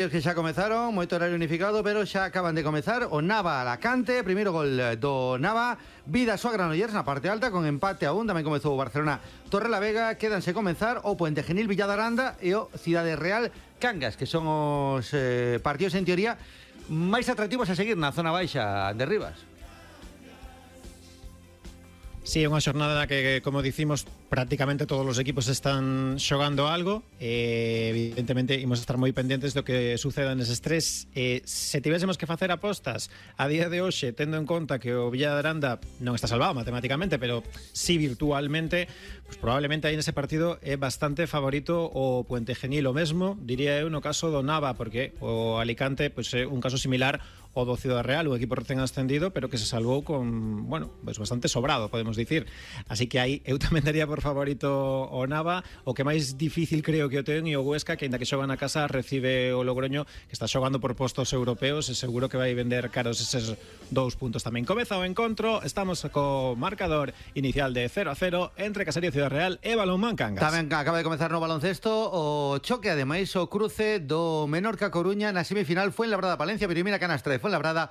Que xa comezaron, moito horario unificado, pero xa acaban de comezar o Nava Alacante, primeiro gol do Nava, Vidasoa Granollers na parte alta con empate a 1, tamén comezou o Barcelona Torrelavega, quédanse comezar o Puente Genil Villadaranda e o Cidade Real Cangas, que son os partidos en teoría máis atractivos a seguir na zona baixa de Rivas. Sí, é unha xornada na que, como dicimos, prácticamente todos os equipos están xogando algo. Evidentemente, imos estar moi pendentes do que suceda neses tres. Se tivésemos que facer apostas a día de hoxe, tendo en conta que o Villadaranda non está salvado matemáticamente, pero sí virtualmente, pues probablemente aí nese partido é bastante favorito o Puente Genil. O mesmo, diría eu, no caso do Nava, porque o Alicante pues, é un caso similar ao do Cidade Real, un equipo recén ascendido, pero que se salvou con, bueno, pues bastante sobrado, podemos dicir. Así que aí eu tamén daría por favorito o Nava. O que máis difícil creo que o ten e o Huesca, que ainda que xoga na casa, recibe o Logroño, que está xogando por postos europeos, e seguro que vai vender caros eses 2 puntos tamén. Comeza o encontro, estamos co marcador inicial de 0-0 entre Caserío Cidade Real e Balonmán Cangas. Tamén acaba de comezar no baloncesto o choque, ademais o cruce do Menorca Coruña na semifinal. Fuenlabrada Palencia, primeira canastra de Fuenlabrada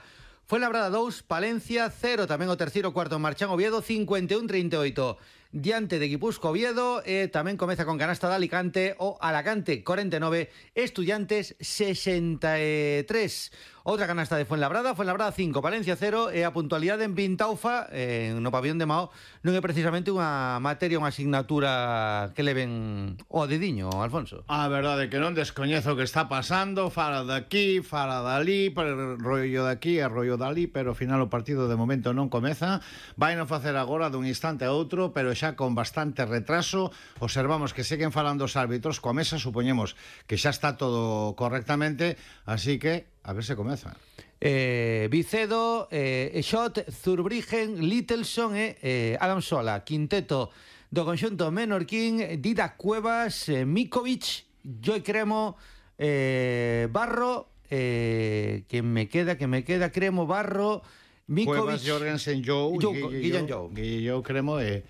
2, Palencia 0, tamén o terceiro cuarto Marchán Oviedo 51-38 diante de Guipúzcoa Oviedo, tamén comeza con canasta de Alicante o Alacante 49, Estudiantes 63. Outra canasta de Fuenlabrada 5, Palencia 0, e a puntualidade en Vintaufa, no pabellón de Mao, non é precisamente unha materia, unha asignatura que leven o dediño, Alfonso. A verdade é que non descoñezo o que está pasando, fala daqui, fala dali, rollo daqui e rollo dali, pero ao final o partido de momento non comeza. Vai non facer agora dun instante a outro, pero xa con bastante retraso. Observamos que seguen falando os árbitros coa mesa, supoñemos que xa está todo correctamente, así que a ver se comeza. Vicedo, Schott, Zurbriggen, Littelson e Adam Sola, quinteto do conxunto menorquín, Dida Cuevas, Mikovic, Joy Cremo, Barro, que me queda, Cremo, Barro, Mikovic, Cuevas, Jorgensen, Guillen Jou, Cremo e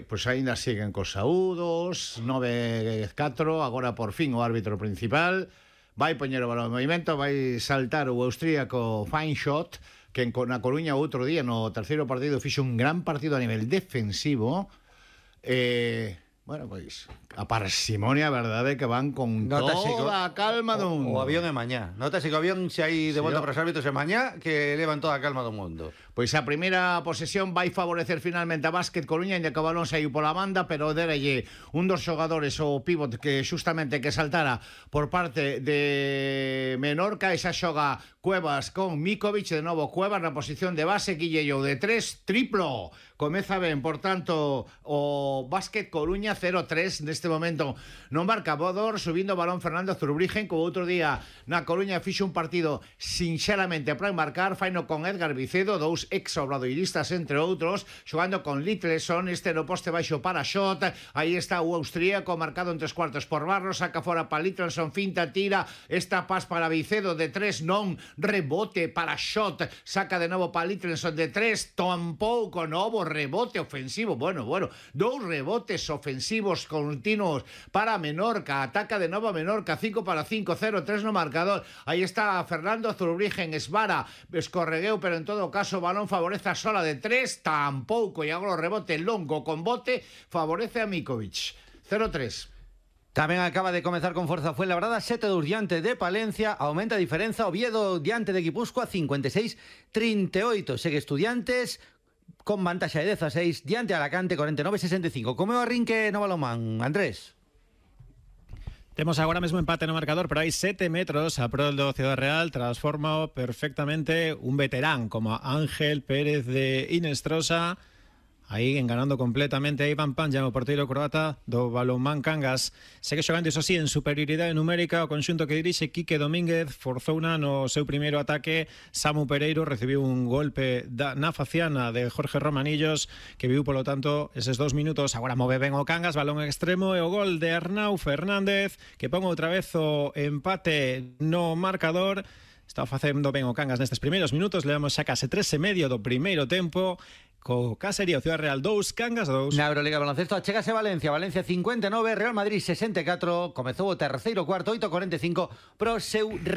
pues ainda siguen cos saúdos, 9-4, agora por fin o árbitro principal vai poñer o balón en movimento, vai saltar o austríaco Feinschott, que na Coruña outro día no terceiro partido fixo un gran partido a nivel defensivo. Bueno, pois a parsimonia, a verdade, que van con toda a calma do mundo. O avión é mañá. Notase que o avión se hai de volta para os árbitros é mañá, que levan toda a calma do mundo. Pois a primeira posesión vai favorecer finalmente a Básquet Coruña, ainda que o balón saiu pola banda, pero derelle un dos xogadores, o pívot, que xustamente que saltara por parte de Menorca. Esa xoga Cuevas con Mikovic, de novo Cuevas na posición de base, Guille Jou de 3, triplo. Comeza ben, por tanto, o Básquet Coruña 0-3 neste momento. Non marca Bodor, subindo o balón Fernando Zurbriggen, que o outro día na Coruña fixo un partido sinxeramente para marcar, faino con Edgar Vicedo, dous ex-obradoiristas entre outros, xogando con Littelson, este no poste baixo para Schott. Aí está o austríaco, marcado en 3/4 por Barro, saca fora para Littelson, finta, tira, esta pas para Vicedo de 3, non, rebote para Schott, saca de novo para Littelson de 3, tampouco, novo rebote ofensivo, bueno, dous rebotes ofensivos continuos para Menorca, ataca de novo a Menorca, 5-5, 0-3 no marcador. Aí está Fernando Zurbriggen, esvara, escorregueu, pero en todo caso o balón favorece a Sola de 3, tampouco, e agora o rebote longo con bote favorece a Mikovic, 0-3. Tamén acaba de comezar con forza Fuenlabrada, 7-2 diante de Palencia, aumenta a diferenza Oviedo diante de Guipúzcoa, 56-38, segue Estudiantes con vantaxa de 16 diante de Alacante, 49-65. Como é o arrinque no balonmán, Andrés? Temos agora mesmo empate no marcador, pero hai 7 metros a prol do Cidade Real. Transforma perfectamente un veterán como Ángel Pérez de Inestrosa, aí enganando completamente a Iván Panja, o porteiro croata do Balonmán Cangas. Segue xogando, iso sí, en superioridade numérica o conxunto que dirixe Quique Domínguez. Forzouna no seu primeiro ataque. Samu Pereiro recibiu un golpe na faciana de Jorge Romanillos, que viu, polo tanto, eses 2 minutos. Agora move ben o Cangas, balón extremo, e o gol de Arnau Fernández, que pon outra vez o empate no marcador. Está facendo ben o Cangas nestes primeiros minutos. Levamos xa case 3 e medio do primeiro tempo. co Casería, Ciudad Real 2, Cangas 2. Na Euroliga de baloncesto, achégase Valencia, Valencia 59, Real Madrid 64, comezou o terceiro cuarto, 8:45 pro seu